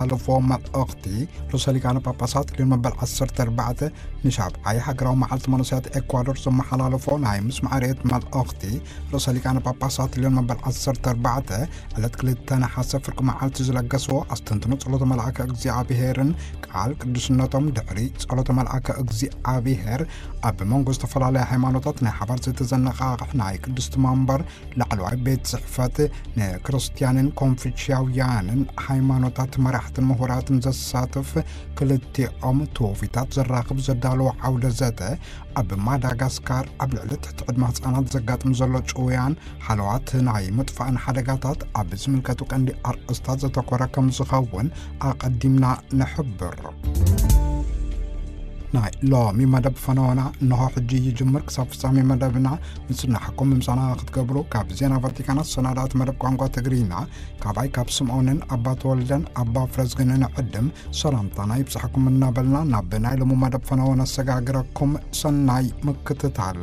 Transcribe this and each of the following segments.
ዘመሓላለፎ መልእኽቲ፣ ርእሰ ሊቃነ ጳጳሳት ሊዮን መበል ዓሰርተ ኣርባዕተ ንሻብዓይ ሃገራዊ መዓልቲ መንእሰያት ኤኳዶር ዘመሓላለፎ ናይ ምስማዕ ርኤት መልእኽቲ፣ ርእሰ ሊቃነ ጳጳሳት ሊዮን መበል ዓሰርተ ኣርባዕተ ዕለት ክልተ ነሓሰ ፍርቂ መዓልቲ ዝለገስዎ ኣስተንትኖ ጸሎተ መልኣከ እግዚኣብሔርን ቃል ቅዱስነቶም ድሕሪ ጸሎተ መልኣከ እግዚኣብሔር ኣብ መንጎ ዝተፈላለያ ሃይማኖታት ናይ ሓባር ዝተዘነቓቕሕ ናይ ቅድስቲ መንበር ላዕለዋይ ቤት ጽሕፈት ንክርስቲያንን ኮንፊሽያውያንን ሃይማኖታት መራሕትን ምሁራትን ዘሳትፍ ክልቲኦም ትውፊታት ዘራኽብ ዘዳለዎ ዓውደ ዘተ ኣብ ማዳጋስካር ኣብ ልዕሊ ትሕቲ ዕድመ ህጻናት ዘጋጥም ዘሎ ጭውያን ሃለዋት ናይ ምጥፋእን ሓደጋታት ኣብ ዝምልከቱ ቀንዲ ኣርእስታት ዘተኮረ ከም ዝኸውን ኣቐዲምና ንሕብር። ናይ ሎሚ መደብ ፈነወና እንሆ ሕጂ ይጅምር። ክሳብ ፍጻሜ መደብና ምጽናሕኩም ምምሳና ክትገብሩ ካብ ዜና ቫቲካን ኣሰናዳእቲ መደብ ቋንቋ ትግርኛ ካባይ ካብ ስምዖንን ኣባ ተወልደን ኣባ ፍረዝግንን ዕድም ሰላምታና ይብጻሕኩም እናበልና ናብ ናይ ሎሚ መደብ ፈነወ ነሰጋግረኩም። ሰናይ ምክትታል።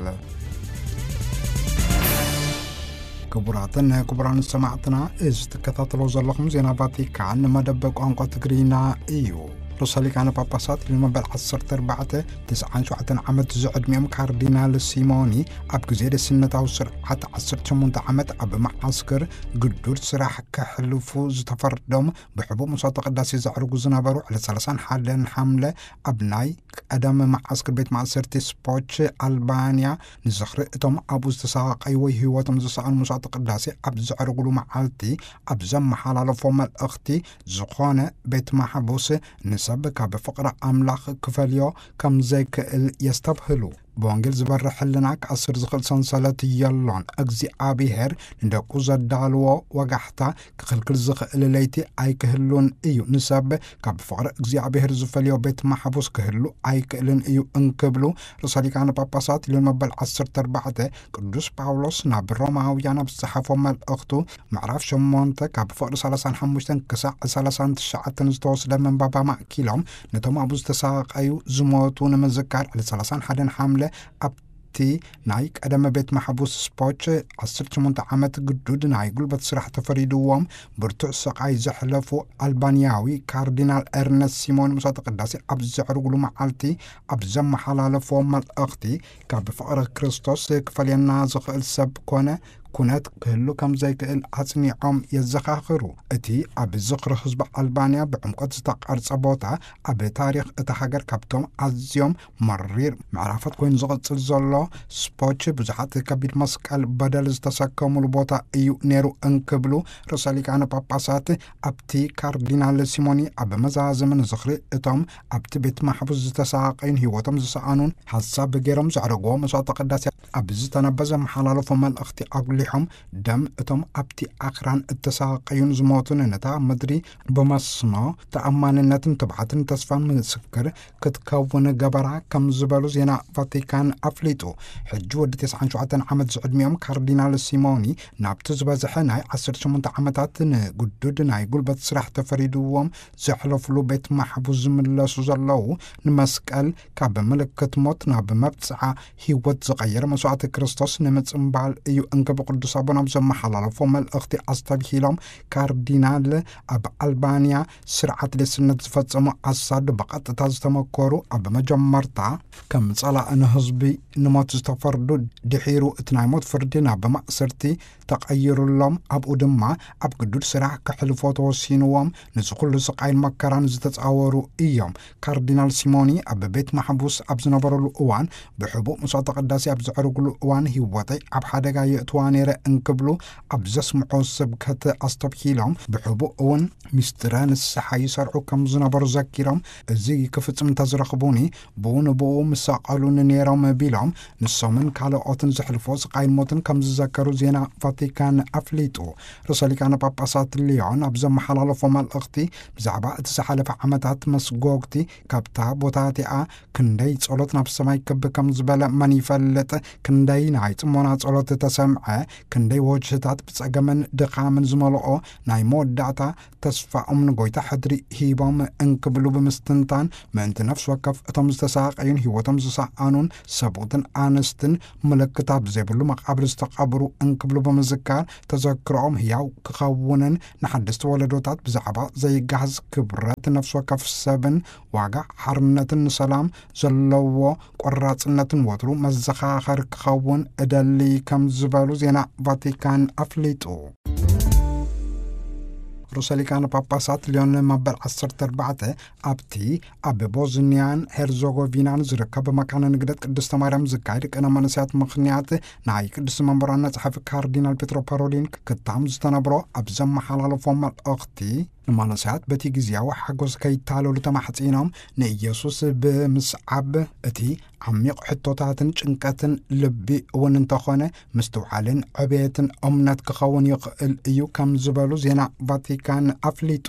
ክቡራትን ክቡራን ሰማዕትና፣ እዚ ትከታተሎ ዘለኹም ዜና ቫቲካን መደብ ቋንቋ ትግርኛ እዩ። ርእሰ ሊቃነ ጳጳሳት ሊዮን መበል ዓሰርተ ኣርባዕተ ትስዓን ሸውዓተን ዓመት ዝዕድሚኦም ካርዲናል ሲሞኒ ኣብ ግዜ ደስነታዊ ስርዓት ዓሰርተ ሸሞንተ ዓመት ኣብ መዓስከር ግዱድ ስራሕ ከሕልፉ ዝተፈርዶም ብሕቡእ መስዋዕተ ቅዳሴ ዘዕርጉ ዝነበሩ ዕለት ሰላሳን ሓደን ሓምለ ኣብ ናይ ቀደም መዓስከር ቤት ማእሰርቲ ስፖች ኣልባንያ ንዝኽሪ እቶም ኣብኡ ዝተሳቐዩ ወይ ህይወቶም ዝሰኣኑ መስዋዕተ ቅዳሴ ኣብ ዘዕርጉሉ መዓልቲ ኣብ ዘመሓላለፎ መልእኽቲ ዝኾነ ቤት ማሕቡስ ንሰብ ካብ ፍቕሪ ኣምላኽ ክፈልዮ ከም ዘይክእል የስተብህሉ። ብወንጌል ዝበርህ ሕልና ክኣስር ዝኽእል ሰንሰለት የሎን። እግዚኣብሔር ንደቁ ዘዳልዎ ወጋሕታ ክኽልክል ዝኽእል ለይቲ ኣይክህሉን እዩ። ንሰብ ካብ ፍቕሪ እግዚኣብሔር ዝፈልዮ ቤት ማሕቡስ ክህሉ ኣይክእልን እዩ እንክብሉ ርእሰ ሊቃነ ጳጳሳት ሊዮን መበል ዓሰርተ ኣርባዕተ ቅዱስ ጳውሎስ ናብ ሮማውያን ኣብ ዝጸሓፎ መልእኽቱ ምዕራፍ ሸሞንተ ካብ ፍቕሪ ሰላሳን ሓሙሽተን ክሳዕ ሰላሳን ትሽዓተን ዝተወስደ መንባብ ኣማእኪሎም ነቶም ኣብኡ ዝተሳቐዩ ዝሞቱ ንምዝካር ዕለት ሰላሳን ሓደን ሓምለ ኣብቲ ናይ ቀደመ ቤት ማሕቡስ ስፖች ዓሰርተ ሸሞንተ ዓመት ግዱድ ናይ ጉልበት ስራሕ ተፈሪድዎም ብርቱዕ ስቓይ ዘሕለፉ ኣልባንያዊ ካርዲናል ኤርነስት ሲሞን መስዋዕተ ቅዳሴ ኣብ ዘዕርጉሉ መዓልቲ ኣብ ዘመሓላለፎ መልእኽቲ ካብ ፍቕሪ ክርስቶስ ክፈልየና ዝኽእል ሰብ ኮነ ኩነት ክህሉ ከም ዘይክእል ኣጽኒዖም የዘኻኽሩ። እቲ ኣብ ዝኽሪ ህዝቢ ኣልባንያ ብዕምቆት ዝተቐርጸ ቦታ ኣብ ታሪኽ እታ ሃገር ካብቶም ኣዝዮም መሪር ምዕራፋት ኮይኑ ዝቕጽል ዘሎ ስፖች ብዙሓት ከቢድ መስቀል በደል ዝተሰከሙሉ ቦታ እዩ ነይሩ እንክብሉ ርእሰ ሊቃነ ጳጳሳት ኣብቲ ካርዲናል ሲሞኒ ኣብ መዛዘሚ ንዝኽሪ እቶም ኣብቲ ቤት ማሕቡስ ዝተሳቐዩን ህይወቶም ዝሰኣኑን ሓሳብ ገይሮም ዘዕረግዎ መስዋዕተ ቅዳሴ ኣብ ዝተነበ ዘመሓላለፎ መልእኽቲ ኣጉሊሖም፣ ደም እቶም ኣብቲ ኣኽራን እተሳቐዩን ዝሞቱን ነታ ምድሪ ብመስኖ ተኣማንነትን ትብዓትን ተስፋን ምስክር ክትከውን ገበራ ከም ዝበሉ ዜና ቫቲካን ኣፍሊጡ። ሕጂ ወዲ ተስዓን ሸውዓተን ዓመት ዝዕድሚኦም ካርዲናል ሲሞኒ ናብቲ ዝበዝሐ ናይ ዓሰርተ ሸሞንተ ዓመታት ንግዱድ ናይ ጉልበት ስራሕ ተፈሪድዎም ዘሕለፍሉ ቤት ማሕቡስ ዝምለሱ ዘለዉ ንመስቀል ካብ ምልክት ሞት ናብ መብጽዓ ህይወት ዝቐየረ መስዋዕቲ ክርስቶስ ንምጽምባል እዩ እንክብ ቅዱስ ኣቦና ኣብ ዘመሓላለፎ መልእኽቲ ኣስተብሂሎም ካርዲናል ኣብ ኣልባንያ ስርዓት ሌስነት ዝፈጸሙ ኣሳድ ብቐጥታ ዝተመኮሩ ኣብ መጀመርታ ከም ጸላእ ንህዝቢ ንሞት ዝተፈርዱ ድሒሩ እቲ ናይ ሞት ፍርዲ ናብ ማእሰርቲ ተቐይሩሎም ኣብኡ ድማ ኣብ ግዱድ ስራሕ ከሕልፎ ተወሲንዎም። ንዚ ኩሉ ስቓይን መከራን ዝተጻወሩ እዮም። ካርዲናል ሲሞኒ ኣብ ቤት ማሕቡስ ኣብ ዝነበረሉ እዋን ብሕቡእ መስዋዕተ ቅዳሴ ኣብ ዘዕርግሉ እዋን ህይወተይ ኣብ ሓደጋ የእትዋ ነይረ እንክብሉ ኣብ ዘስምዖ ስብከት ኣስተብሂሎም ብሕቡእ እውን ሚስጥረ ንስሓ ይሰርዑ ከም ዝነበሩ ዘኪሮም እዚ ክፍጽም እንተዝረኽቡኒ ብኡ ንብኡ ምሳቐሉኒ ነይሮም ቢሎም ንሶምን ካልኦትን ዘሕልፎ ስቓይን ሞትን ከም ዝዘከሩ ዜና ቫቲካን ኣፍሊጡ። ርእሰ ሊቃነ ጳጳሳት ሊዮን ኣብ ዘመሓላለፎ መልእኽቲ ብዛዕባ እቲ ዝሓለፈ ዓመታት መስጎግቲ ካብታ ቦታ እቲኣ ክንደይ ጸሎት ናብ ሰማይ ክብ ከም ዝበለ መን ይፈልጥ፣ ክንደይ ናይ ጽሞና ጸሎት ተሰምዐ፣ ክንደይ ወጅህታት ብጸገምን ድኻምን ዝመልኦ ናይ መወዳእታ ተስፋኦም ንጎይታ ሕድሪ ሂቦም እንክብሉ ብምስትንታን፣ ምእንቲ ነፍሲ ወከፍ እቶም ዝተሳቐዩን ህይወቶም ዝሰኣኑን ሰብኡትን ኣንስትን ምልክታት ብዘይብሉ መቓብር ዝተቐብሩ እንክብሉ ብምዝካር፣ ተዘክሮኦም ህያው ክኸውንን ንሓደስቲ ወለዶታት ብዛዕባ ዘይገሃስ ክብረት ነፍሲ ወከፍ ሰብን ዋጋ ሓርነትን ንሰላም ዘለዎ ቆራጽነትን ወትሩ መዘኻኸር ክኸውን እደሊ ከም ዝበሉ ዜና ቫቲካን ኣፍሊጡ። ርእሰ ሊቃነ ጳጳሳት ሊዮን መበል ዓሰርተ ኣርባዕተ ኣብቲ ኣብ ቦዝኒያን ሄርዞጎቪናን ዝርከብ መካነ ንግደት ቅድስተ ማርያም ዝካየድ ቅነ መንእሰያት ምኽንያት ናይ ቅድስቲ መንበራና ጸሓፊ ካርዲናል ፔትሮ ፓሮሊን ክታም ዝተነብሮ ኣብ ዘመሓላለፎ መልእኽቲ፣ ንመንእሰያት በቲ ግዜያዊ ሓጎስ ከይታለሉ ተማሕጺኖም ንኢየሱስ ብምስዓብ እቲ ዓሚቕ ሕቶታትን ጭንቀትን ልቢ እውን እንተኾነ ምስትውዓልን ዕብየትን እምነት ክኸውን ይኽእል እዩ ከም ዝበሉ ዜና ቫቲካን ኣፍሊጡ።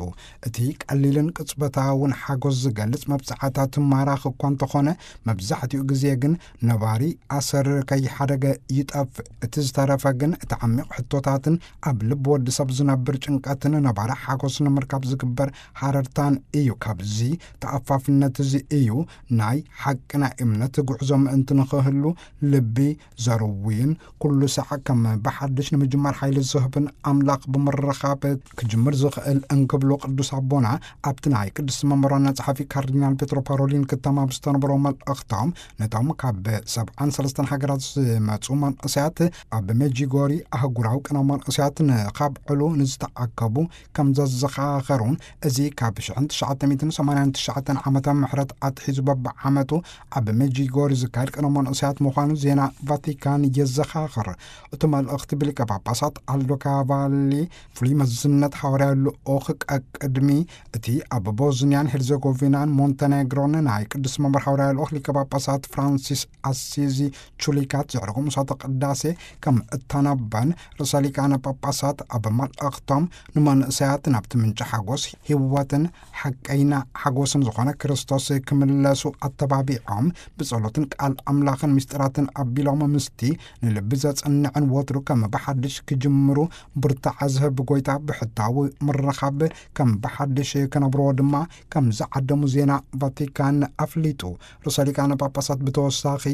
እቲ ቀሊልን ቅጽበታውን ሓጎስ ዝገልጽ መብጽዓታት ማራኺ እኳ እንተኾነ፣ መብዛሕትኡ ግዜ ግን ነባሪ ኣሰር ከይሓደገ ይጠፍእ። እቲ ዝተረፈ ግን እቲ ዓሚቕ ሕቶታትን ኣብ ልቢ ወዲ ሰብ ዝነብር ጭንቀትን ነባሪ ሓጎስ ንምርካብ ዝግበር ሃረርታን እዩ። ካብዚ ተኣፋፍነት እዚ እዩ ናይ ሓቂ ናይ እምነት ጉዕዞ ምእንቲ ንኽህሉ ልቢ ዘርውይን ኩሉ ሳዕ ከም ብሓድሽ ንምጅማር ሓይሊ ዝህብን ኣምላኽ ብምርኻብ ክጅምር ዝኽእል እንክብሉ ቅዱስ ኣቦና ኣብቲ ናይ ቅድስቲ መንበሮና ጸሓፊ ካርዲናል ፔትሮ ፓሮሊን ክታም ኣብ ዝተነበሮ መልእኽቶም፣ ነቶም ካብ ሰብዓን ሰለስተን ሃገራት ዝመጹ መንእሰያት ኣብ ሜጂጎሪ ኣህጉራዊ ቅነ መንእሰያት ንኻብዕሉ ንዝተኣከቡ ከም ዘዘኻኸሩን፣ እዚ ካብ ሽሕን ትሽዓተ ሚእትን ሰማንያን ትሽዓተን ዓመተ ምሕረት ኣትሒዙ በብዓመቱ ኣብ ሜጂጎሪ ዝካየድ ቅነ መንእሰያት ምዃኑ ዜና ቫቲካን የዘኻኽር። እቲ መልእኽቲ ብሊቀ ጳጳሳት ኣልዶ ካቫሊ ፍሉይ መዝነት ሃዋርያዊ ልኡኽ ቀቅድሚ እቲ ኣብ ቦዝኒያን ሄርዘጎቪናን ሞንተኔግሮን ናይ ቅዱስ መንበር ሃዋርያዊ ልኡኽ ሊቀ ጳጳሳት ፍራንሲስ ኣሲዚ ቹሊካት ዘዕረጎ ምሳተ ቅዳሴ ከም እተነበን ርእሰ ሊቃነ ጳጳሳት ኣብ መልእኽቶም ንመንእሰያት ናብቲ ምንጪ ሓጎስ ህይወትን ሓቀይና ሓጎስን ዝኾነ ክርስቶስ ክምለሱ ኣተባቢዖም ብጸሎትን ቃል ኣምላኽን ምስጢራትን ኣቢሎም ምስቲ ንልቢ ዘጽንዕን ወትሩ ከም ብሓድሽ ክጅምሩ ብርታዐ ዝህብ ጎይታ ብሕታዊ ምርኻብ ከም ብሓድሽ ክነብርዎ ድማ ከም ዝዓደሙ ዜና ቫቲካን ኣፍሊጡ። ርእሰ ሊቃነ ጳጳሳት ብተወሳኺ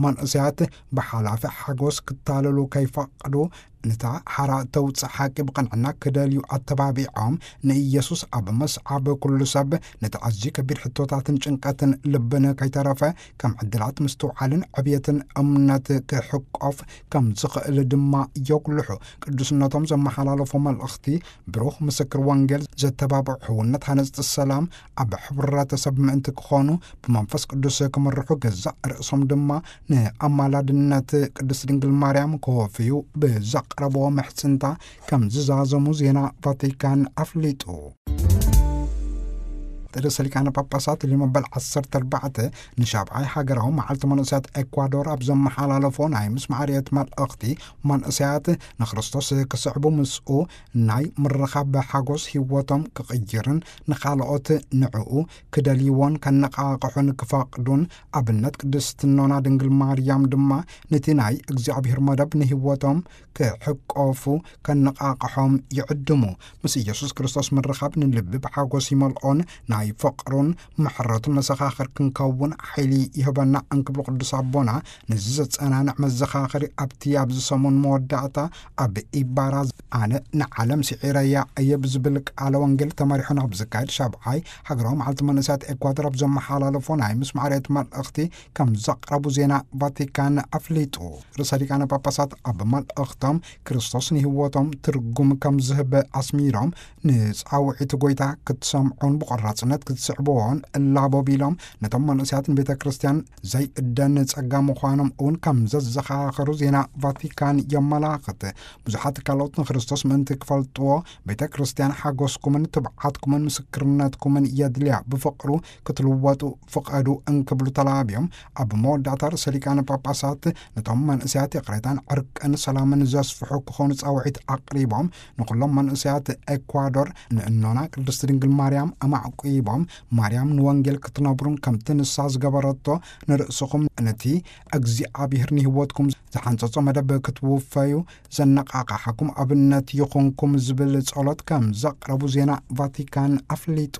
መንእሰያት ብሓላፊ ሓጎስ ክታለሉ ከይፈቕዱ፣ ነታ ሓራ ተውጽእ ሓቂ ብቕንዕና ክደልዩ ኣተባቢዖም፣ ንኢየሱስ ኣብ መስዓብ ኩሉ ሰብ ነቲ ኣዝዩ ከቢድ ሕቶታትን ጭንቀትን ልብን ከይተረፈ ከም ዕድላት ምስትውዓልን ዕብየትን እምነት ክሕቆፍ ከም ዝኽእል ድማ የጉልሑ። ቅዱስነቶም ዘመሓላለፎ መልእኽቲ ብሩኽ ምስክር ወንጌል ዘተባብዑ ሕውነት ሃነጽቲ ሰላም ኣብ ሕብረተሰብ ምእንቲ ክኾኑ ብመንፈስ ቅዱስ ክምርሑ ገዛእ ርእሶም ድማ ንኣማላድነት ቅድስት ድንግል ማርያም ከወፍዩ ብዘቕረብዎ ምሕጽንታ ከም ዝዛዘሙ ዜና ቫቲካን ኣፍሊጡ። ርእሰ ሊቃነ ጳጳሳት ሊዮ መበል ዓሰርተ ኣርባዕተ ንሻብዓይ ሃገራዊ መዓልቲ መንእሰያት ኤኳዶር ኣብ ዘመሓላለፎ ናይ ምስማዕ ርየት መልእኽቲ፣ መንእሰያት ንክርስቶስ ክስዕቡ ምስኡ ናይ ምርኻብ ሓጎስ ህይወቶም ክቕይርን ንኻልኦት ንዕኡ ክደልይዎን ከነቓቕሑን ክፈቕዱን ኣብነት ቅድስት እኖና ድንግል ማርያም ድማ ነቲ ናይ እግዚኣብሔር መደብ ንህይወቶም ክሕቆፉ ከነቓቕሖም ይዕድሙ። ምስ ኢየሱስ ክርስቶስ ምርኻብ ንልቢ ብሓጎስ ይመልኦን ናይ ፍቕሩን ምሕረቱን መሰኻኽር ክንከውን ሓይሊ ይህበና እንክብሉ ቅዱስ ኣቦና፣ ነዚ ዘጸናንዕ መዘኻኸሪ ኣብቲ ኣብዚ ሰሙን መወዳእታ ኣብ ኢባራ ኣነ ንዓለም ስዒረያ እየ ብዝብል ቃለ ወንጌል ተመሪሑ ናብ ዝካየድ ሻብዓይ ሃገራዊ መዓልቲ መንእሰያት ኤኳዶር ኣብ ዘመሓላለፎ ናይ ምስማዕ ርየት መልእኽቲ ከም ዘቕረቡ ዜና ቫቲካን ኣፍሊጡ። ርእሰ ሊቃነ ጳጳሳት ኣብ መልእኽቶም ክርስቶስ ንህይወቶም ትርጉም ከም ዝህብ ኣስሚሮም፣ ንጻውዒት ጎይታ ክትሰምዑን ብቆራጽነት ክትስዕብዎን እላቦ ቢሎም፣ ነቶም መንእሰያትን ቤተ ክርስቲያን ዘይእደን ጸጋ ምዃኖም እውን ከም ዘዘኻኸሩ ዜና ቫቲካን የመላኽት። ብዙሓት ካልኦት ንክርስቶስ ምእንቲ ክፈልጥዎ ቤተ ክርስቲያን ሓጎስኩምን ትብዓትኩምን ምስክርነትኩምን የድልያ፣ ብፍቕሩ ክትልወጡ ፍቐዱ እንክብሉ ተላብዮም፣ ኣብ መወዳእታ ርእሰ ሊቃነ ጳጳሳት ነቶም መንእሰያት ይቕሬታን ዕርቅን ሰላምን ዘስፍሑ ክኾኑ ጻውዒት ኣቕሪቦም፣ ንኹሎም መንእሰያት ኤኳዶር ንእኖና ቅድስት ድንግል ማርያም ኣማዕቁ ኣቕሪቦም፣ ማርያም ንወንጌል ክትነብሩን ከምቲ ንሳ ዝገበረቶ ንርእስኹም ነቲ እግዚኣብሔር ንህይወትኩም ዝሓንጸጾ መደብ ክትውፈዩ ዘነቓቓሓኩም ኣብነት ይኹንኩም ዝብል ጸሎት ከም ዘቕረቡ ዜና ቫቲካን ኣፍሊጡ።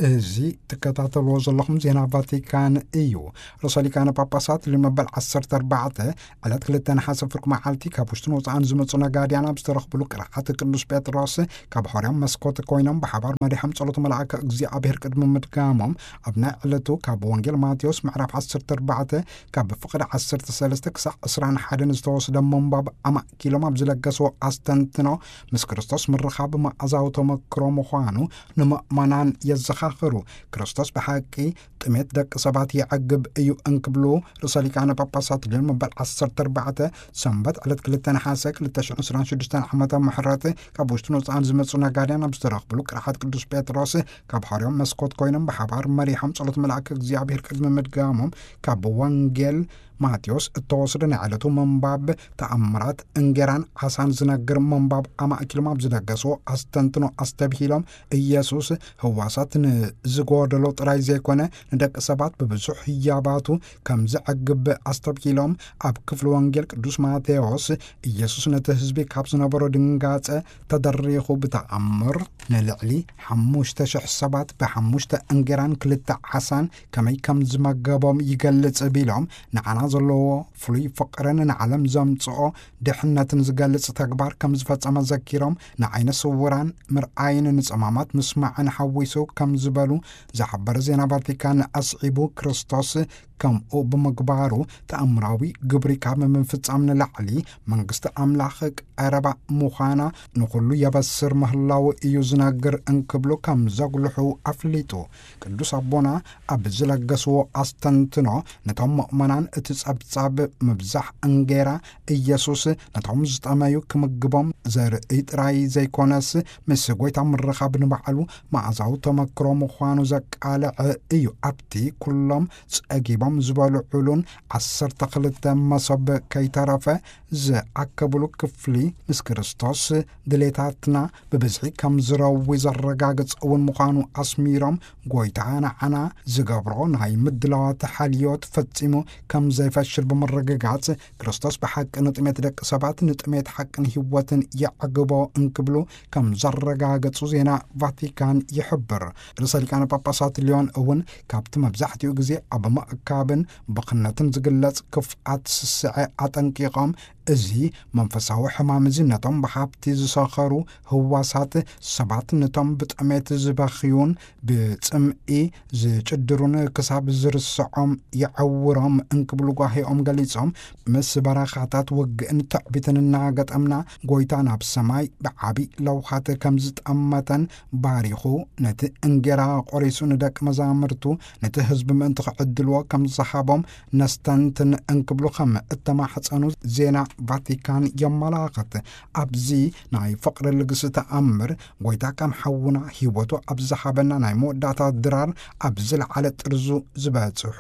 እዚ ትከታተልዎ ዘለኹም ዜና ቫቲካን እዩ። ርእሰ ሊቃነ ጳጳሳት ሊዮ መበል ዓሰርተ ኣርባዕተ ዕለት ክልተ ነሓሰ ፍርቂ መዓልቲ ካብ ውሽጥን ወፃእን ዝመፁ ነጋድያን ኣብ ዝተረኽብሉ ቅርሓት ቅዱስ ጴጥሮስ ካብ ሆርያም መስኮት ኮይኖም ብሓባር መሪሖም ጸሎት መልኣከ እግዚኣብሔር ቅድሚ ምድጋሞም ኣብ ናይ ዕለቱ ካብ ወንጌል ማቴዎስ ምዕራፍ ዓሰርተ ኣርባዕተ ካብ ፍቕዲ ዓሰርተ ሰለስተ ክሳዕ ዕስራን ሓደን ዝተወስደ ምንባብ ኣማእኪሎም ኣብ ዝለገስዎ ኣስተንትኖ ምስ ክርስቶስ ምርኻብ መኣዛዊ ተመክሮ ምዃኑ ንምእመናን የዘኻኽሩ። ክርስቶስ ብሓቂ ጥሜት ደቂ ሰባት የዕግብ እዩ እንክብሉ ርእሰ ሊቃነ ጳጳሳት ሊዮን መበል ዓሰርተ ኣርባዕተ ሰንበት ዕለት ክልተ ነሓሰ ክልተ ሽሕን ዕስራን ሽዱሽተን ዓመተ ምሕረት ካብ ውሽጥን ወፃእን ዝመፁ ነጋድያን ኣብ ዝተረኽብሉ ቅርሓት ቅዱስ ጴጥሮስ ካብ ሆርያም መስኮት ኮይኖም ብሓባር መሪሖም ጸሎት መልኣከ እግዚኣብሔር ቅድሚ ምድጋሞም ካብ ወንጌል ማቴዎስ እተወስደ ናይ ዕለቱ ምንባብ ተኣምራት እንጌራን ዓሳን ዝነግር ምንባብ ኣማእኪሎም ኣብ ዝለገስዎ ኣስተንትኖ ኣስተብሂሎም ኢየሱስ ህዋሳት ንዝጎደሎ ጥራይ ዘይኮነ ንደቂ ሰባት ብብዙሕ ህያባቱ ከም ዘዕግብ ኣስተብሂሎም ኣብ ክፍሊ ወንጌል ቅዱስ ማቴዎስ ኢየሱስ ነቲ ህዝቢ ካብ ዝነበሮ ድንጋጸ ተደሪኹ ብተኣምር ንልዕሊ ሓሙሽተ ሽሕ ሰባት ብሓሙሽተ እንጌራን ክልተ ዓሳን ከመይ ከም ዝመገቦም ይገልጽ ቢሎም ንዓና ዘለዎ ፍሉይ ፍቕርን ንዓለም ዘምጽኦ ድሕነትን ዝገልጽ ተግባር ከም ዝፈጸመ ዘኪሮም ንዓይነ ስውራን ምርኣይን ንጸማማት ምስማዕን ሓዊሱ ከም ዝበሉ ዝሓበረ ዜና ቫቲካን ኣስዒቡ ክርስቶስ ከምኡ ብምግባሩ ተኣምራዊ ግብሪ ካብ ምፍጻም ንላዕሊ መንግስቲ ኣምላኽ ቀረባ ምዃና ንኹሉ የበስር ምህላው እዩ ዝነግር እንክብሉ ከም ዘጉልሑ ኣፍሊጡ። ቅዱስ ኣቦና ኣብ ዝለገስዎ ኣስተንትኖ ነቶም ምእመናን እቲ ጸብጻብ ምብዛሕ እንጌራ ኢየሱስ ነቶም ዝጠመዩ ክምግቦም ዘርኢ ጥራይ ዘይኮነስ ምስ ጎይታ ምርኻብ ንባዕሉ መኣዛዊ ተመክሮ ምዃኑ ዘቃልዕ እዩ። ኣብቲ ኩሎም ጸጊቦም ዝበልዑሉን ዓሰርተ ክልተ መሶብ ከይተረፈ ዝኣከብሉ ክፍሊ ምስ ክርስቶስ ድሌታትና ብብዝሒ ከም ዝረዊ ዘረጋግጽ እውን ምዃኑ ኣስሚሮም ጎይታ ንዓና ዝገብሮ ናይ ምድላዋት ሓልዮት ፈጺሙ ከም ዘይፈሽል ብምርግጋጽ ክርስቶስ ብሓቂ ንጥሜት ደቂ ሰባት ንጥሜት ሓቅን ህይወትን የዕግቦ እንክብሉ ከም ዘረጋገጹ ዜና ቫቲካን ይሕብር። ርእሰ ሊቃነ ጳጳሳት ሊዮን እውን ካብቲ መብዛሕትኡ ግዜ ኣብ ምእካብን ብኽነትን ዝግለጽ ክፍኣት ስስዐ ኣጠንቂቖም እዚ መንፈሳዊ ሕማም እዚ ነቶም ብሃብቲ ዝሰኸሩ ህዋሳት ሰባት ነቶም ብጥሜት ዝበኽዩን ብጽምኢ ዝጭድሩን ክሳብ ዝርስዖም የዐውሮም እንክብሉ ጓሂኦም ገሊጾም ምስ በረኻታት ውግእን ትዕቢትን እናገጠምና ጎይታ ናብ ሰማይ ብዓቢ ለውሃት ከም ዝጠመተን ባሪኹ ነቲ እንጌራ ቆሪሱ ንደቂ መዛምርቱ ነቲ ህዝቢ ምእንቲ ክዕድልዎ ከም ዝሃቦም ነስተንትን እንክብሉ ከም እተማሕጸኑ ዜና ቫቲካን የመላኽት። ኣብዚ ናይ ፍቕሪ ልግሲ ተኣምር ጎይታ ከም ሓውና ህይወቱ ኣብ ዝሃበና ናይ መወዳእታ ድራር ኣብ ዝለዓለ ጥርዙ ዝበጽሑ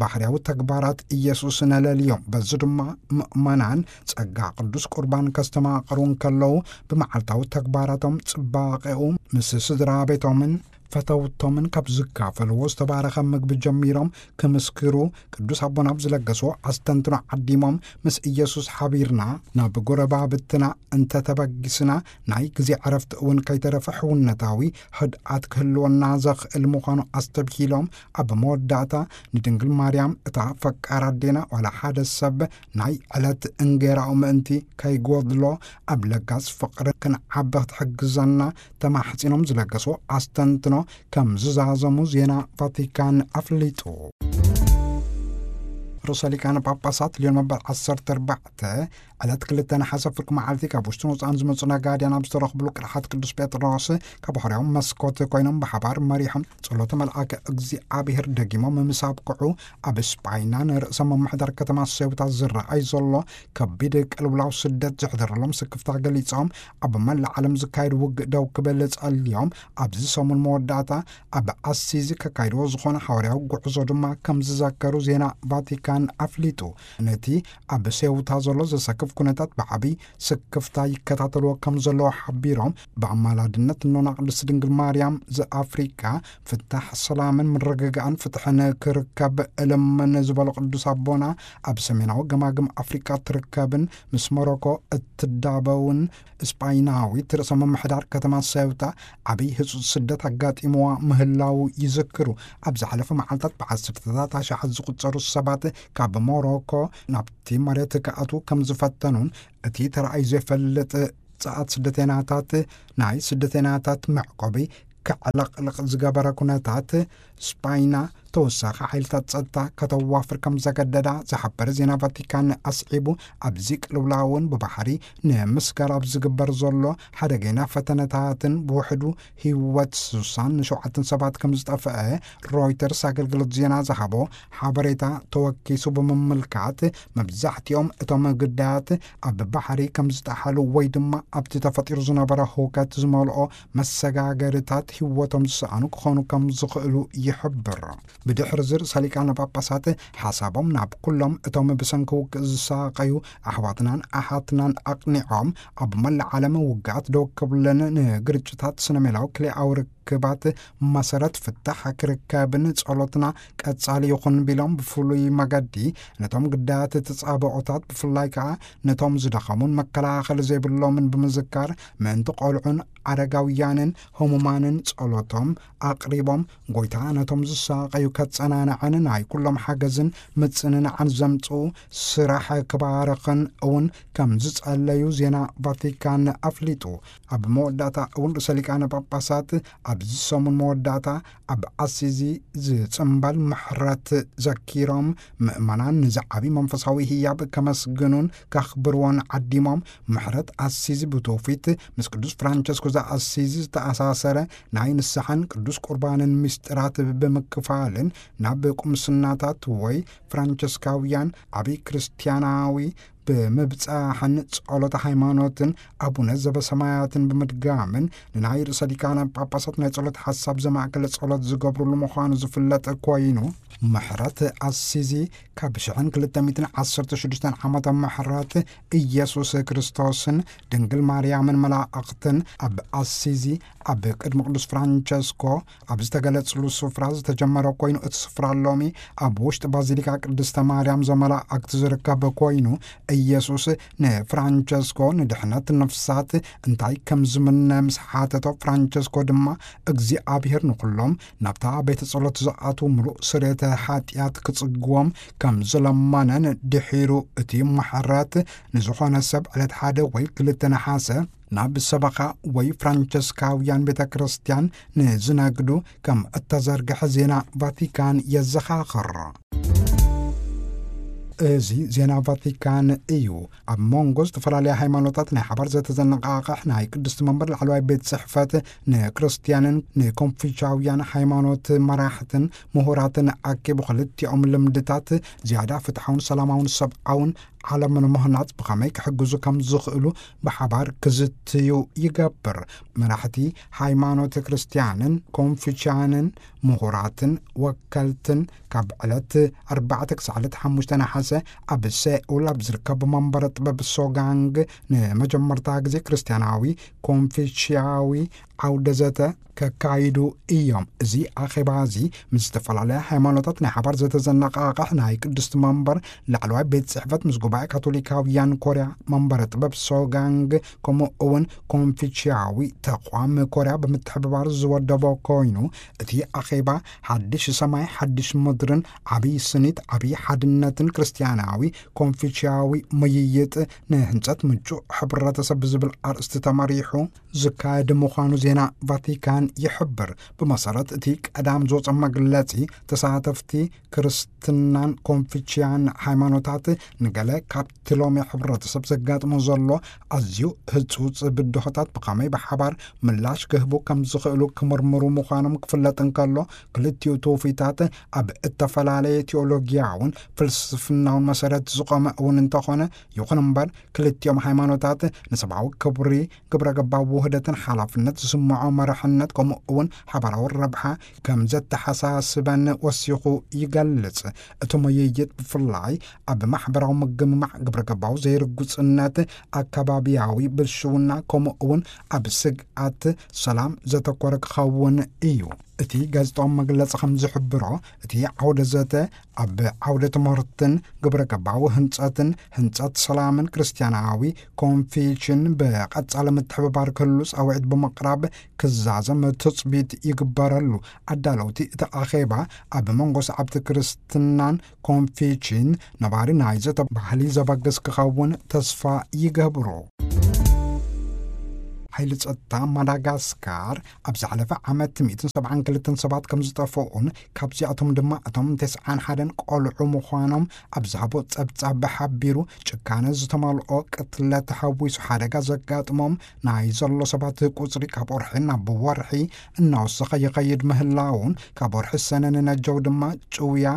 ባህርያዊ ተግባራት ኢየሱስ ነለልዮም። በዚ ድማ ምእመናን ጸጋ ቅዱስ ቁርባን ከስተማቕሩ እንከለዉ ብመዓልታዊ ተግባራቶም ጽባቐኡ ምስ ስድራ ቤቶምን ፈተውቶምን ካብ ዝካፈልዎ ዝተባረኸ ምግቢ ጀሚሮም ክምስክሩ ቅዱስ ኣቦና ኣብ ዝለገስዎ ኣስተንትኖ ዓዲሞም ምስ ኢየሱስ ሓቢርና ናብ ጎረባብትና እንተተበጊስና ናይ ግዜ ዕረፍቲ እውን ከይተረፈ ሕውነታዊ ህድኣት ክህልወና ዘኽእል ምዃኑ ኣስተብሂሎም ኣብ መወዳእታ ንድንግል ማርያም እታ ፈቃር ኣዴና ዋላ ሓደ ሰብ ናይ ዕለት እንጌራኡ ምእንቲ ከይጎድሎ ኣብ ለጋስ ፍቕሪ ክንዓቢ ክትሕግዘና ተማሕጺኖም ዝለገስዎ ኣስተንትኖ ከም ዝዛዘሙ ዜና ቫቲካን ኣፍሊጡ። ርእሰ ሊቃነ ጳጳሳት ሊዮን መበል ዓሰርተ ኣርባዕተ ዕለት ክልተ ነሓሰ ፍርቂ መዓልቲ ካብ ውሽጥን ወፃእን ዝመፁ ነጋድያን ኣብ ዝተረኽብሉ ቅርሓት ቅዱስ ጴጥሮስ ካብ ሆርያዊ መስኮት ኮይኖም ብሓባር መሪሖም ጸሎተ መልኣከ እግዚኣብሔር ደጊሞም ምስ ኣብቅዑ ኣብ ስጳይና ንርእሰ ምምሕዳር ከተማ ሴውታ ዝረኣይ ዘሎ ከቢድ ቅልውላው ስደት ዘሕደረሎም ስክፍታ ገሊጾም ኣብ መላእ ዓለም ዝካየድ ውግእ ደው ክብል ጸልዮም ኣብዚ ሰሙን መወዳእታ ኣብ ኣሲዚ ከካይድዎ ዝኾነ ሓዋርያዊ ጉዕዞ ድማ ከም ዝዘከሩ ዜና ቫቲካን ቫቲካን ኣፍሊጡ። ነቲ ኣብ ሴውታ ዘሎ ዘሰክፍ ኩነታት ብዓቢ ስክፍታ ይከታተልዎ ከም ዘለዉ ሓቢሮም፣ ብኣማላድነት እኖና ቅድስት ድንግል ማርያም ዘኣፍሪቃ ፍታሕ፣ ሰላምን ምርግጋእን ፍትሕን ክርከብ እልምን ዝበሉ ቅዱስ ኣቦና፣ ኣብ ሰሜናዊ ገማግም ኣፍሪቃ ትርከብን ምስ ሞሮኮ እትዳበውን ስጳይናዊት ርእሰ ምምሕዳር ከተማ ሴውታ ዓብዪ ህጹጽ ስደት ኣጋጢምዋ ምህላዉ ይዝክሩ። ኣብ ዝሓለፈ መዓልታት ብዓሰርተታት ኣሽሓት ዝቑጸሩ ሰባት ካብ ሞሮኮ ናብቲ መሬት ክኣትዉ ከም ዝፈተኑን፣ እቲ ተራእዩ ዘይፈልጥ ጸዓት ስደተይናታት ናይ ስደተይናታት መዕቆቢ ከዕለቕልቕ ዝገበረ ኩነታት፣ ስጳይና ተወሳኺ ሓይልታት ጸጥታ ከተዋፍር ከም ዘገደዳ ዝሓበረ ዜና ቫቲካን ኣስዒቡ፣ ኣብዚ ቅልውላውን ብባሕሪ ንምስጋር ኣብ ዝግበር ዘሎ ሓደገኛ ፈተነታትን ብውሕዱ ህይወት ስሳን ሸውዓተን ሰባት ከም ዝጠፍአ ሮይተርስ ኣገልግሎት ዜና ዝሃቦ ሓበሬታ ተወኪሱ ብምምልካት፣ መብዛሕትኦም እቶም ግዳያት ኣብ ባሕሪ ከም ዝጠሓሉ ወይ ድማ ኣብቲ ተፈጢሩ ዝነበረ ህውከት ዝመልኦ መሰጋገርታት ህይወቶም ዝሰኣኑ ክኾኑ ከም ዝኽእሉ ይሕብር። ብድሕሪ እዚ ርእሰ ሊቃነ ጳጳሳት ሓሳቦም ናብ ኩሎም እቶም ብሰንኪ ውግእ ዝሳቐዩ ኣሕዋትናን ኣሓትናን ኣቕኒዖም፣ ኣብ መላእ ዓለም ውግኣት ደው ክብልን ንግርጭታት ስነ ሜላዊ ክልኤኣዊ ርክባት መሰረት ፍታሕ ክርከብን ጸሎትና ቀጻሊ ይኹን ቢሎም፣ ብፍሉይ መገዲ ነቶም ግዳያት ተጻብኦታት፣ ብፍላይ ከኣ ነቶም ዝደኸሙን መከላኸሊ ዘይብሎምን ብምዝካር፣ ምእንቲ ቆልዑን ኣረጋውያንን ህሙማንን ጸሎቶም ኣቕሪቦም፣ ጎይታ ነቶም ዝሳቐዩ ከጸናንዐን ናይ ኩሎም ሓገዝን ምጽንናዕን ዘምጽኡ ስራሕ ክባርኽን እውን ከም ዝጸለዩ ዜና ቫቲካን ኣፍሊጡ። ኣብ መወዳእታ እውን ርእሰ ሊቃነ ጳጳሳት ኣብዚ ሰሙን መወዳእታ ኣብ ኣሲዚ ዝጽምበል ምሕረት ዘኪሮም፣ ምእመናን ንዚ ዓቢ መንፈሳዊ ህያብ ከመስግኑን ከኽብርዎን ዓዲሞም፣ ምሕረት ኣሲዚ ብትውፊት ምስ ቅዱስ ፍራንቸስኮ ዘኣሲዚ ዝተኣሳሰረ ናይ ንስሓን ቅዱስ ቁርባንን ምስጢራት ብምክፋልን፣ ናብ ቁምስናታት ወይ ፍራንቸስካውያን ዓቢ ክርስትያናዊ ብምብጻሕን ጸሎተ ሃይማኖትን ኣቡነ ዘበሰማያትን ብምድጋምን፣ ንናይ ርእሰ ሊቃነ ጳጳሳት ናይ ጸሎት ሓሳብ ዘማእከለ ጸሎት ዝገብሩሉ ምዃኑ ዝፍለጥ ኮይኑ፣ ምሕረት ኣሲዚ ካብ ሽሕን ክልተ ሚእትን ዓሰርተ ሽዱሽተን ዓመተ ምሕረት ኢየሱስ ክርስቶስን ድንግል ማርያምን መላእኽትን ኣብ ኣሲዚ ኣብ ቅድሚ ቅዱስ ፍራንቸስኮ ኣብ ዝተገለጽሉ ስፍራ ዝተጀመረ ኮይኑ፣ እቲ ስፍራ ሎሚ ኣብ ውሽጢ ባዚሊካ ቅድስተ ማርያም ዘመላእክት ዝርከብ ኮይኑ፣ ኢየሱስ ንፍራንቸስኮ ንድሕነት ነፍሳት እንታይ ከም ዝምነ ምስ ሓተቶ፣ ፍራንቸስኮ ድማ እግዚኣብሔር ንኹሎም ናብታ ቤተ ጸሎት ዝኣትዉ ምሉእ ስርየተ ሓጢኣት ክጽግዎም ከም ዝለመነን ድሒሩ እቲ ምሕረት ንዝኾነ ሰብ ዕለት ሓደ ወይ ክልተ ነሓሰ ናብ ሰበኻ ወይ ፍራንቸስካውያን ቤተ ክርስቲያን ንዝነግዱ ከም እተዘርግሐ ዜና ቫቲካን የዘኻኽር። እዚ ዜና ቫቲካን እዩ። ኣብ መንጎ ዝተፈላለያ ሃይማኖታት ናይ ሓባር ዘተዘነቓቕሕ ናይ ቅድስቲ መንበር ላዕለዋይ ቤት ጽሕፈት ንክርስቲያንን ንኮንፊቻውያን ሃይማኖት መራሕትን ምሁራትን ኣኪቡ፣ ክልቲኦም ልምድታት ዝያዳ ፍትሓውን ሰላማውን ሰብኣውን ዓለም ንምህናጽ ብኸመይ ክሕግዙ ከም ዝኽእሉ ብሓባር ክዝትዩ ይገብር። መራሕቲ ሃይማኖት ክርስትያንን ኮንፊቻንን ምሁራትን ወከልትን ካብ ዕለት ኣርባዕተ ክሳዕ ዕለት ሓሙሽተ ነሓሰ ኣብ ሴኡል ኣብ ዝርከብ መንበረ ጥበብ ሶጋንግ ንመጀመርታ ግዜ ክርስትያናዊ ኮንፊሽያዊ ዓውደ ዘተ ከካይዱ እዮም። እዚ ኣኼባ እዚ ምስ ዝተፈላለያ ሃይማኖታት ናይ ሓባር ዘተዘነቓቕሕ ናይ ቅድስቲ መንበር ላዕለዋይ ቤት ጽሕፈት ምስ ጉባኤ ካቶሊካውያን ኮርያ መንበረ ጥበብ ሶጋንግ ከምኡ እውን ኮንፊሽያዊ ተቋም ኮርያ ብምትሕብባር ዝወደቦ ኮይኑ፣ እቲ ኣኼባ ሓድሽ ሰማይ ሓድሽ ምድርን ዓብዪ ስኒት ዓብዪ ሓድነትን ክርስትያናዊ ኮንፊሽያዊ ምይይጥ ንህንጸት ምቹእ ሕብረተሰብ ብዝብል ኣርእስቲ ተመሪሑ ዝካየድ ምዃኑ ዜና ቫቲካን ይሕብር። ብመሰረት እቲ ቀዳም ዝወጸ መግለጺ፣ ተሳተፍቲ ክርስትናን ኮንፊችያን ሃይማኖታት ንገለ ካብቲ ሎሚ ሕብረተሰብ ዘጋጥሞ ዘሎ ኣዝዩ ህጹጽ ብድሆታት ብኸመይ ብሓባር ምላሽ ክህቡ ከም ዝኽእሉ ክምርምሩ ምዃኖም ክፍለጥ እንከሎ፣ ክልቲኡ ትውፊታት ኣብ እተፈላለየ ቲዮሎጊያውን ፍልስፍናውን መሰረት ዝቖመ እውን እንተኾነ፣ ይኹን እምበር ክልቲኦም ሃይማኖታት ንሰብኣዊ ክብሪ፣ ግብረ ገባዊ ውህደትን ሓላፍነት ዝስምዖ መርሕነት፣ ከምኡ እውን ሓባራዊ ረብሓ ከም ዘተሓሳስበን ወሲኹ ይገልጽ። እቲ ምይይጥ ብፍላይ ኣብ ማሕበራዊ ምግምማዕ፣ ግብረ ገባዊ ዘይርጉጽነት፣ ኣከባቢያዊ ብልሽውና፣ ከምኡ እውን ኣብ ስግኣት ሰላም ዘተኮረ ክኸውን እዩ። እቲ ጋዜጣዊ መግለጺ ከም ዝሕብሮ፣ እቲ ዓውደ ዘተ ኣብ ዓውደ ትምህርትን ግብረ ገባዊ ህንጸትን፣ ህንጸት ሰላምን ክርስትያናዊ ኮንፌሽን ብቐጻሊ ምትሕብባር ክህሉ ጻውዒት ብምቕራብ ክዛዘም ትጽቢት ይግበረሉ። ኣዳለውቲ እቲ ኣኼባ ኣብ መንጎ ሰዓብቲ ክርስትናን ኮንፌሽን ነባሪ ናይ ዘተ ባህሊ ዘበግስ ክኸውን ተስፋ ይገብሩ። ሓይሊ ጸጥታ ማዳጋስካር ኣብ ዝሓለፈ ዓመት ሚእትን ሰብዓን ክልተን ሰባት ከም ዝጠፍኡን ካብዚኣቶም ድማ እቶም ተስዓን ሓደን ቆልዑ ምዃኖም ኣብ ዝሃቦ ጸብጻብ ሓቢሩ፣ ጭካነ ዝተመልኦ ቅትለት ተሓዊሱ ሓደጋ ዘጋጥሞም ናይ ዘሎ ሰባት ቁጽሪ ካብ ወርሒ ናብ ወርሒ እናወሰኸ ይኸይድ ምህላውን፣ ካብ ወርሒ ሰነ ንነጀው ድማ ጭውያ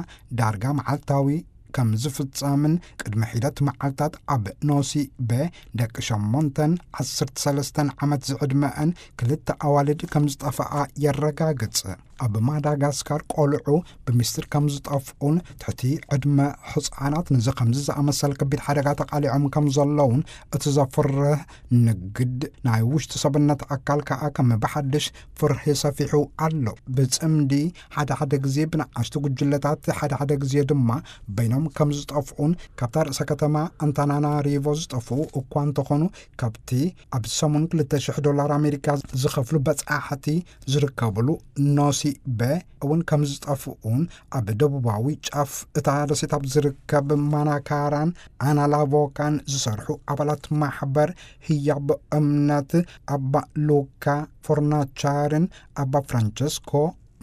ዳርጋ መዓልታዊ ከም ዝፍጸምን፣ ቅድሚ ሒደት መዓልታት ኣብ ኖሲ በ ደቂ ሸሞንተን ዓሰርተ ሰለስተን ዓመት ዝዕድመአን ክልተ ኣዋልድ ከም ዝጠፍኣ የረጋግጽ። ኣብ ማዳጋስካር ቆልዑ ብምስጢር ከም ዝጠፍኡን ትሕቲ ዕድመ ሕፃናት ንዚ ከምዚ ዝኣመሰለ ከቢድ ሓደጋ ተቓሊዖም ከም ዘለውን እቲ ዘፍርህ ንግድ ናይ ውሽጢ ሰብነት ኣካል ከኣ ከም ብሓድሽ ፍርሂ ሰፊሑ ኣሎ። ብጽምዲ፣ ሓደ ሓደ ግዜ ብንኣሽቱ ጉጅለታት፣ ሓደ ሓደ ግዜ ድማ በይኖም ከም ዝጠፍኡን ካብታ ርእሰ ከተማ ኣንታናናሪቮ ዝጠፍኡ እኳ እንተኾኑ፣ ካብቲ ኣብ ሰሙን ክልተ ሽሕ ዶላር ኣሜሪካ ዝኸፍሉ በጻሕቲ ዝርከብሉ ኖሲ በ እውን ከም ዝጠፍኡን፣ ኣብ ደቡባዊ ጫፍ እታ ደሴት ኣብ ዝርከብ ማናካራን ኣናላቮካን ዝሰርሑ ኣባላት ማሕበር ህያብ እምነት ኣባ ሉካ ፎርናቻርን ኣባ ፍራንቸስኮ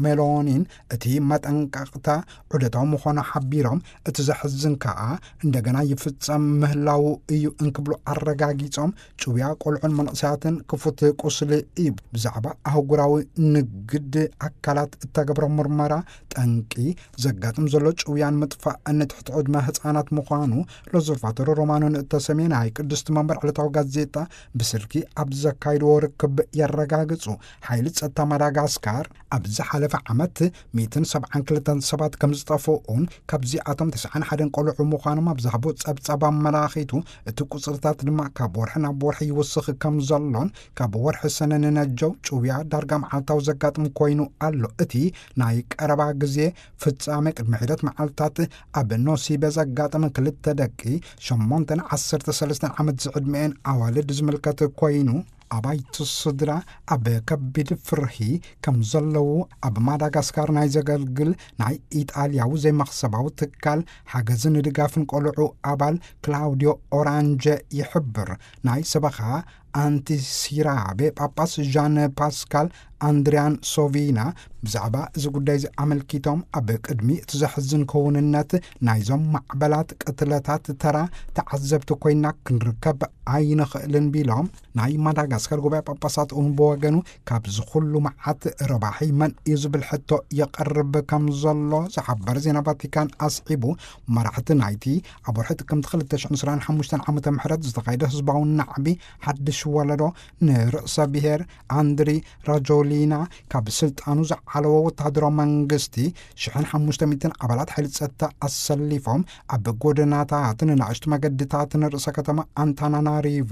ሜሎኒን እቲ መጠንቀቕታ ዑደታዊ ምዃኑ ሓቢሮም፣ እቲ ዘሕዝን ከኣ እንደገና ይፍጸም ምህላዉ እዩ እንክብሉ ኣረጋጊጾም፣ ጭውያ ቆልዑን መንእሰያትን ክፉት ቁስሊ እዩ። ብዛዕባ ኣህጉራዊ ንግድ ኣካላት እተገብረ ምርመራ ጠንቂ ዘጋጥም ዘሎ ጭውያን ምጥፋእን ትሕቲ ዕድመ ህጻናት ምዃኑ ሎዘርቫቶር ሮማኖ ንእተሰምየ ናይ ቅድስቲ መንበር ዕለታዊ ጋዜጣ ብስልኪ ኣብ ዘካይድዎ ርክብ የረጋግጹ። ሓይሊ ጸጥታ ማዳጋስካር ኣብ ዝሓለፈ ዓመት ሚእትን ሰብዓን ክልተን ሰባት ከም ዝጠፍኡን ካብዚኣቶም ተስዓን ሓደን ቆልዑ ምዃኖም ኣብ ዝሃቦ ጸብጻብ ኣመላኺቱ፣ እቲ ቁጽርታት ድማ ካብ ወርሒ ናብ ወርሒ ይውስኽ ከም ዘሎን ካብ ወርሒ ሰነ ንነጀው ጭውያ ዳርጋ መዓልታዊ ዘጋጥም ኮይኑ ኣሎ። እቲ ናይ ቀረባ ግዜ ፍጻመ ቅድሚ ሒደት መዓልታት ኣብ ኖሲበ ዘጋጠመ ክልተ ደቂ ሸሞንተን ዓሰርተ ሰለስተን ዓመት ዝዕድመኤን ኣዋልድ ዝምልከት ኮይኑ፣ ኣባይቲ ስድራ ኣብ ከቢድ ፍርሂ ከም ዘለዉ ኣብ ማዳጋስካር ናይ ዘገልግል ናይ ኢጣልያዊ ዘይመኽሰባዊ ትካል ሓገዝን ድጋፍን ቆልዑ ኣባል ክላውዲዮ ኦራንጀ ይሕብር። ናይ ሰበኻ ኣንቲሲራቤ ጳጳስ ዣን ፓስካል ኣንድሪያን ሶቪና ብዛዕባ እዚ ጉዳይ እዚ ኣመልኪቶም፣ ኣብ ቅድሚ እቲ ዘሕዝን ክውንነት ናይዞም ማዕበላት ቅትለታት ተራ ተዓዘብቲ ኮይና ክንርከብ ኣይንኽእልን ቢሎም፣ ናይ ማዳጋስካር ጉባኤ ጳጳሳት እውን ብወገኑ ካብዚ ኩሉ መዓት ረባሒ መን እዩ ዝብል ሕቶ የቐርብ ከም ዘሎ ዝሓበረ ዜና ቫቲካን ኣስዒቡ፣ መራሕቲ ናይቲ ኣብ ወርሒ ጥቅምቲ ክልተ ሽሕን ዕስራን ሓሙሽተን ዓመተ ምህረት ዝተኻየደ ህዝባዊ ናዕቢ ሓድሽ ወለዶ ንርእሰ ብሔር ኣንድሪ ራጆሊና ካብ ስልጣኑ ዝዓለዎ ወተሃደራዊ መንግስቲ ሽሕን ሓሙሽተ ሚእትን ኣባላት ሓይሊ ጸጥታ ኣሰሊፎም ኣብ ጎደናታትን ንኣሽቱ መገድታትን ርእሰ ከተማ ኣንታናናሪቮ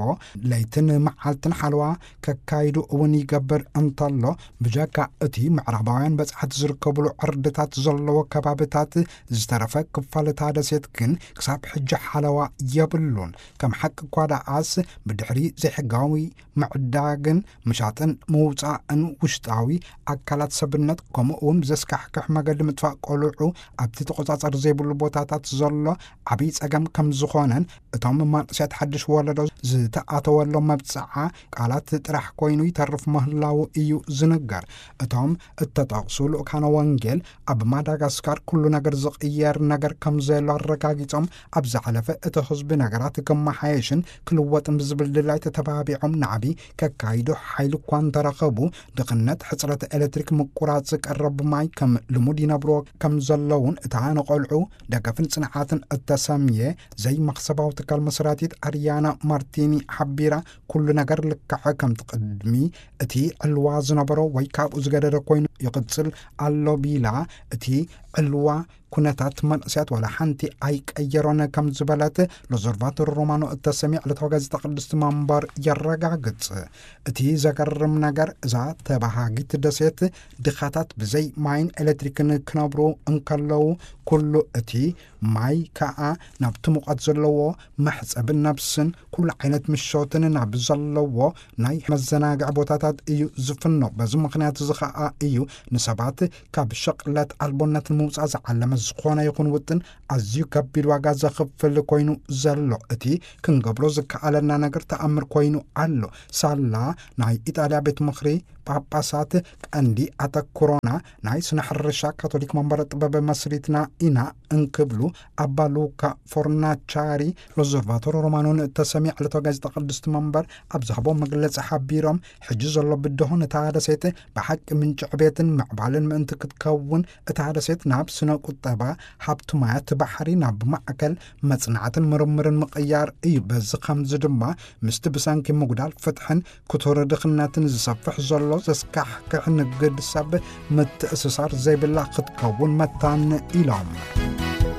ለይትን መዓልትን ሓለዋ ከካይዱ እውን ይገብር እንተሎ፣ ብጀካ እቲ ምዕራባውያን በጻሕቲ ዝርከብሉ ዕርድታት ዘለዎ ከባብታት ዝተረፈ ክፋል እታ ደሴት ግን ክሳብ ሕጂ ሓለዋ የብሉን። ከም ሓቂ እኳ ደኣስ፣ ብድሕሪ ዘይሕጋዊ ምዕዳግን ምሻጥን ምውጻእን ውሽጣዊ ኣካላት ሰብነት፣ ከምኡ እውን ብዘስካሕክሕ መገዲ ምጥፋእ ቆልዑ ኣብቲ ተቆጻጸሪ ዘይብሉ ቦታታት ዘሎ ዓብዪ ጸገም ከም ዝኾነን፣ እቶም መንእሰያት ሓድሽ ወለዶ ዝተኣተወሎም መብጽዓ ቃላት ጥራሕ ኮይኑ ይተርፍ ምህላዉ እዩ ዝንገር። እቶም እተጠቕሱ ልኡካነ ወንጌል ኣብ ማዳጋስካር ኩሉ ነገር ዝቕየር ነገር ከም ዘሎ ኣረጋጊጾም፣ ኣብ ዝሓለፈ እቲ ህዝቢ ነገራት ክመሓየሽን ክልወጥን ብዝብል ድላይ ተተባቢዖም ናዕቢ ከካይዱ ሓይሊ እኳ እንተረኸቡ፣ ድኽነት ነት ሕፅረት ኤሌክትሪክ፣ ምቁራፅ ቀረብ ማይ ከም ልሙድ ይነብርዎ ከም ዘለውን፣ እታ ንቆልዑ ደገፍን ፅንዓትን እተሰምየ ዘይመኽሰባዊ ትካል መስራቲት ኣርያና ማርቲኒ ሓቢራ፣ ኩሉ ነገር ልክዕ ከምቲ ቅድሚ እቲ ዕልዋ ዝነበሮ ወይ ካብኡ ዝገደደ ኮይኑ ይቕፅል ኣሎ ቢላ፣ እቲ ዕልዋ ኩነታት መንእሰያት ዋላ ሓንቲ ኣይቀየሮን ከም ዝበለት ሎዘርቫቶር ሮማኖ እተሰምየ ዕለታዊ ጋዜጣ ቅድስቲ መንበር የረጋግጽ። እቲ ዘገርም ነገር፣ እዛ ተባሃጊት ደሴት ድኻታት ብዘይ ማይን ኤሌክትሪክን ክነብሩ እንከለዉ፣ ኩሉ እቲ ማይ ከኣ ናብቲ ሙቐት ዘለዎ መሕጸብን ነብስን ኩሉ ዓይነት ምሾትን ናብ ዘለዎ ናይ መዘናግዒ ቦታታት እዩ ዝፍኖ። በዚ ምኽንያት እዚ ኸኣ እዩ ንሰባት ካብ ሸቕለት ኣልቦነትን ምውጻእ ዝዓለመ ዝኾነ ይኹን ውጥን ኣዝዩ ከቢድ ዋጋ ዘኽፍል ኮይኑ ዘሎ። እቲ ክንገብሮ ዝከኣለና ነገር ተኣምር ኮይኑ ኣሎ። ሳላ ናይ ኢጣልያ ቤት ምኽሪ ጳጳሳት ቀንዲ ኣተኩሮና ናይ ስነ ሕርሻ ካቶሊክ መንበረ ጥበብ መስሪትና ኢና እንክብሉ ኣባ ሉካ ፎርናቻሪ ሎዘርቫቶር ሮማኖ ንእተሰምየ ዕለታዊ ጋዜጣ ቅድስቲ መንበር ኣብ ዝሃቦ መግለጺ ሓቢሮም፣ ሕጂ ዘሎ ብድሆ ነታ ደሴት ብሓቂ ምንጪ ዕቤትን ምዕባልን ምእንቲ ክትከውን፣ እታ ደሴት ናብ ስነ ቁጠባ፣ ሃብቲ ማያት ባሕሪ ናብ ማእከል መጽናዕትን ምርምርን ምቕያር እዩ። በዚ ከምዚ ድማ ምስቲ ብሰንኪ ምጉዳል ፍትሕን ክቱር ድኽነትን ዝሰፍሕ ዘሎ ዘስካሕክሕ ንግድ ሰብ ምትእስሳር ዘይብላ ክትከውን መታን ኢሎም።